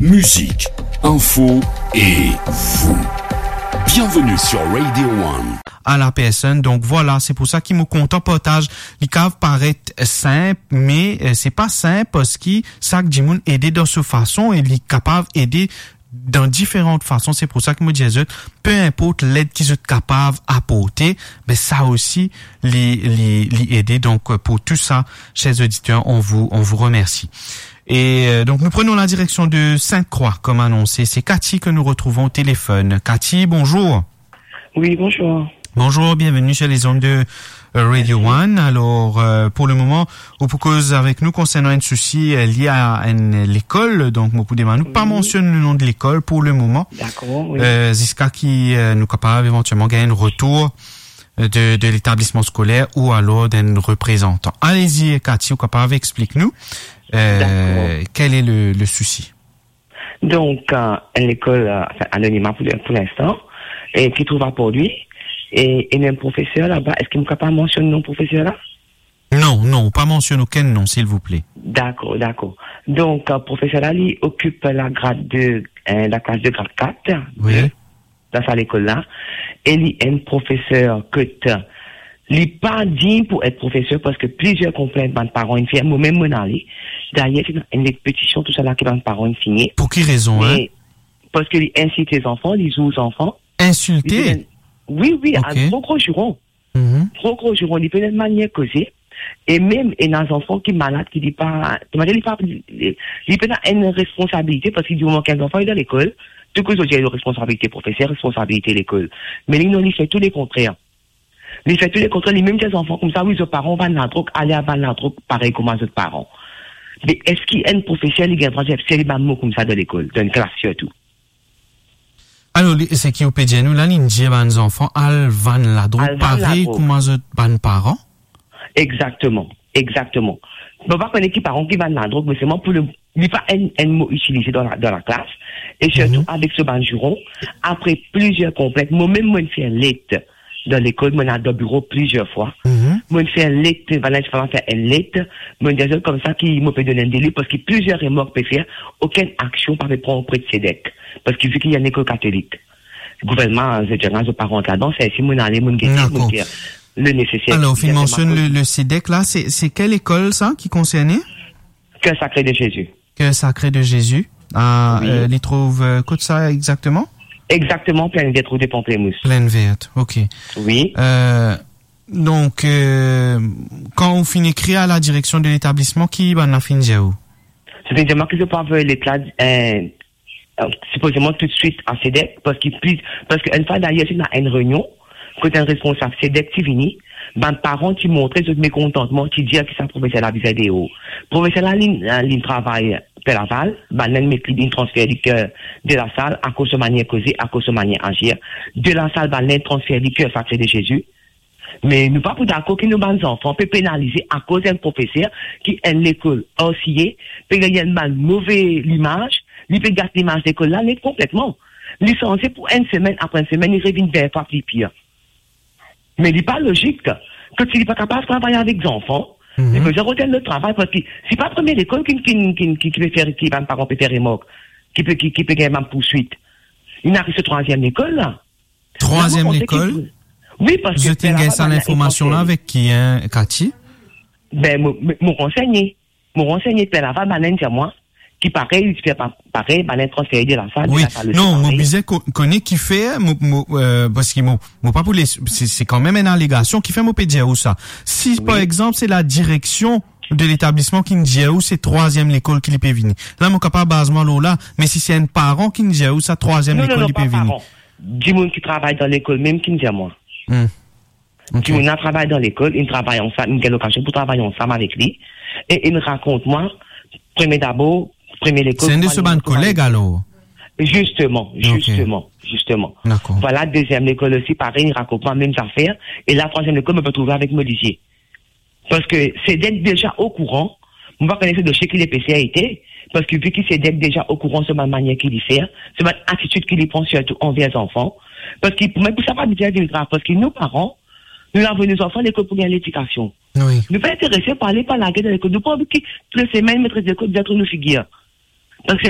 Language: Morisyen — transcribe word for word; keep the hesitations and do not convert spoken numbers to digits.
Musique, info et vous. Bienvenue sur Radio One. À la personne. Donk vwala, se pou sa ki mo kontan partaz. Li kav paret sinp, me, eh, se pa sinp, parski sak dimoun ede dan so fason e li kapav ede dan diferan fason. Se pou sa ki mo dir zot, pe inport led ki zot kapav aporte, be sa osi, li, li, li ede. Donk, pou tou sa, chers auditeurs, on vous, on vous remercie. Et, euh, donc, nous prenons la direction de Sainte-Croix, comme annoncé. C'est Cathy que nous retrouvons au téléphone. Cathy, bonjour. Oui, bonjour. Bonjour, bienvenue sur les ondes de, euh, Radio One. Alors, euh, pour le moment, ou pou koz avek nou konsernan enn sousi, euh, lie a enn lekol. Donk, mo pou demann ou pa mansionn le nom de l'école pour le moment. Dakor, wi. Euh, ziska ki, euh, nou kapav evantielman gagn enn retour de, de l'établissement scolaire ou alors d'un représentant. Allez-y, Cathy, ou kapav explik nou, euh, quel est le, le souci ? Donk, euh, enn lekol, euh, anfin, anonima pou, pou linstan, e ki trouv a Port-Louis, e, e enn profeser laba, eski mo kapav mansionn nom profeser la? Non, non, pa mansionn okenn nom, silvouple. Dakor, dakor. Donk, euh, profeser la, li okip lagrad de, euh, laklas de grad kat, wi, de dan sa lekol la, e li enn profeser kot li pa dign pou et profeser, parski plizier konplint bann paran inn fer, mo mem mo'nn ale. Dayer, ti ena enn let petision, tousala ki bann paran inn signe. Pou ki rezon, hein? Me parski li insilte zanfan, li zour zanfan. Insilte? Li pe donn, wi, wi, a gro, gro ziron. Mhm. Gro, gro ziron, li pena enn manier koze. E mem ena zanfan ki malad, ki li pa, kouma dir, li pa, li, li pena enn responsabilite, parski dimoman ki enn zanfan li dan lekol, tou koze zot dir responsabilite profeser, responsabilite lekol. Me li non, li fer tou lekontrer. Li fer tou lekontrer, li mem dir zanfan koumsa, wi, zot paran vann ladrog, ale al vann ladrog parey kouma zot paran. Me eski enn profeser li gagn drwa dir serye bann mo koumsa dan lekol, dan enn klas sirtou? Alor, li, seki ou pe dir nou la, li dir bann zanfan al vann ladrog, al vann ladrog, parey kouma zot bann paran? Egzakteman, egzakteman. Mo pa kone ki paran ki vann ladrog, me selman pou le, li pa enn, enn mo itilize dan la, dan laklas, e sirtou, mhm, avek so bann ziron, apre plizier konplint, mo mem mo'nn fer let dan lekol, mo'nn al dan biro plizier fwa. Mhm. Mo'nn fer let, bann la ti fer enn let, mo'nn dir zot koumsa ki mo pe donn enn deli, parski plizier remark pe fer, okenn aksion pa pe pran opre de CEDEC, parski vi ki enn lekol katolik, gouvernman, zot dir, zot pa rant ladan, se si mo'nn ale, mo'nn gete, mo'nn fer le neseser. Dakor. Alor, ou finn mansionn le, le CEDEC la, se, se kel lekol sa ki konserne? Cœur Sacré de Jésus. Cœur Sacré de Jésus. Ah, wi. Euh, li trouv, euh, kot sa egzakteman? Egzakteman, Plaine Verte, rue de Pamplemousse. Plaine Verte, ok. Wi. Euh, donk, euh, kan ou finn ekrir a la direksion de letablisman, ki bann la finn dir ou? Zot finn dir mwa ki zot pou avoy let la, euh, euh, sipozeman toutswit a CEDEC, parski plis, parski enn fwa dayer, ti ena enn reynion, kot enn responsab CEDEC ti vini, bann paran ti montre zot mekontantman, ti dir ki sa profeser la bizin deor. Profeser la, li, li travay Perlaval, bann la met li, li transfer li Cœur de la Salle, akoz so manier koze, akoz so manier azir. De la Salle, bann la transfer li Cœur Sacré de Jésus. Me nou pa pou dakor ki nou bann zanfan pe penalize akoz enn profeser ki enn lekol R C A pe gagn enn bann move limaz, li pe gat limaz lekol la net konpletman. Li sanze pou enn semenn, apre enn semenn, li revinn vin fwa pli pir. Me li pa lozik ki si li pa kapav travay avek zanfan, mhm, li bizin rod enn lot travay, parski se pa premie lekol ki, ki, ki, ki, ki pe fer, ki bann paran pe fer remark, ki pe, ki, ki pe gagn bann pourswit. Li ariv so trwaziem lekol la. Trwaziem lekol? Wi, parski zot inn gagn sa linformasion la avek ki, hein, Cathy? Ben, mo, mo, mo ransegne. Mo ransegne, Perlaval, bann la inn dir mwa ki parey, li ti fer pa, parey, bann la inn transfere de la Salle, de la Salle osi parey. Wi. Non, mo bizin ko-, kone kifer, mo, mo, euh, parski mo, mo pa pou les, se, se kanmem enn alegasion, kifer mo pe dir ou sa. Si, par egzanp, se la direksion de letablisman ki'nn dir ou se trwaziem lekol ki li pe vini, la mo kapav baz mwa lor la, me si se enn paran ki'nn dir ou sa trwaziem lekol li pe vini. Non, non, non, pa paran. Dimoun ki travay dan lekol mem ki'nn dir mwa. Hmm. Ok. Dimoun la travay dan lekol, inn travay ansam, inn gagn lokazion pou travay ansam avek li, e inn rakont mwa, premie dabor, premie lekol, kouma li komanse. Se enn de so bann koleg alor? Zisteman, zisteman, zisteman. Dakor. Vwala, deziem lekol osi, parey, inn rakont mwa mem zafer, e la, trwaziem lekol, mo pe trouve avek mo lizie. Parski CEDEC deza okouran, mo pa kone so dosie ki lepeser ete, parski vi ki CEDEC deza okouran so bann manier ki li fer, so bann atitid ki li pran sirtou anver zanfan, parski pou mwa, pou sa pa bizin vinn grav, parski nou paran, nou avoy nou zanfan lekol pou gagn ledikasion. Wi. Nou pa interese pou ale pa lager dan lekol, nou pa anvi ki tou le semenn met lekol dezot nou figir. Parski